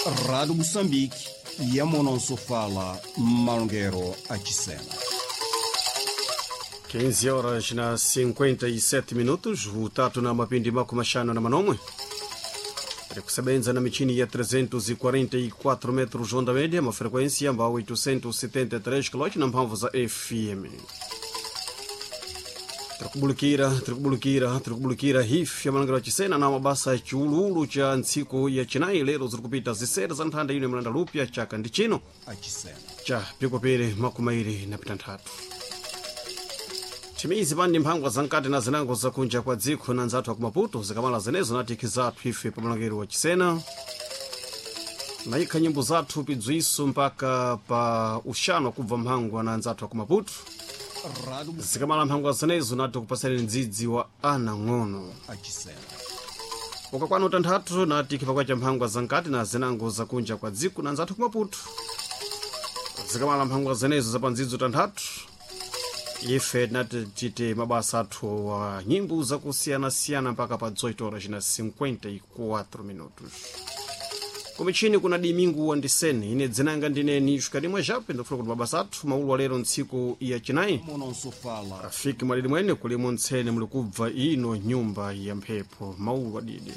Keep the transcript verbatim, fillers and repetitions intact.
Rádio Moçambique, Yamonosofala, Malongero Achisena. quinze horas na cinquenta e sete minutos, utatu na mapindi mako mashano na manomwe. Tiri kusebenza na michini ya trezentos e quarenta e quatro metros onda média, uma frequência ambao oitocentos e setenta e três quilómetros na mphamvu za F M. Tirikubulikira, tirikubulikira, tirikubulikira hifi ya malangiro achisena na mabasa ya chiululu cha ntsiku ya chinayi. Lero zirikupita zisere za nthanda ino ya malanda lupya, chaka ndi chino Achisena. Cha pikopere makumairi na pitanthatu. Thimizi pani mphangwa zamkati na zinango zakunja kwa dziko na nzathu akumaputo. Zikamala zenezo natiki zathu ife pamalangero wa chisena nayikha nyimbo zathu pidzwiso mpaka pa uxano kubva mphangwa na nzathu akumaputo. Rádio Zikamala mphangwa zenezo nati kupasani mdzidzi wa ana ng'ono. Achisena. Ukakwana utanthatu nati khipakwa cha mphangwa zamkati na zinango zakunja kwa dziko na nzathu kumaputo. Zikamala mphangwa zenezo zapandzidzo tanthatu, ife tinati tite mabasa athu wa nyimbo zakusiyanasiyana mpaka pa oito horas na cinquenta e quatro minutos. Kumichini kuna Dimingu Wandiseni, ine dzinanga ndineni Shukadimwe Jape. Ndikufuna kuti mabasa athu maulu alero ntsiku ya chinayi Monosofala. Afiki mwalili mwene kulimo ntsene muli kubva ino nyumba ya mphepo maulu adidi.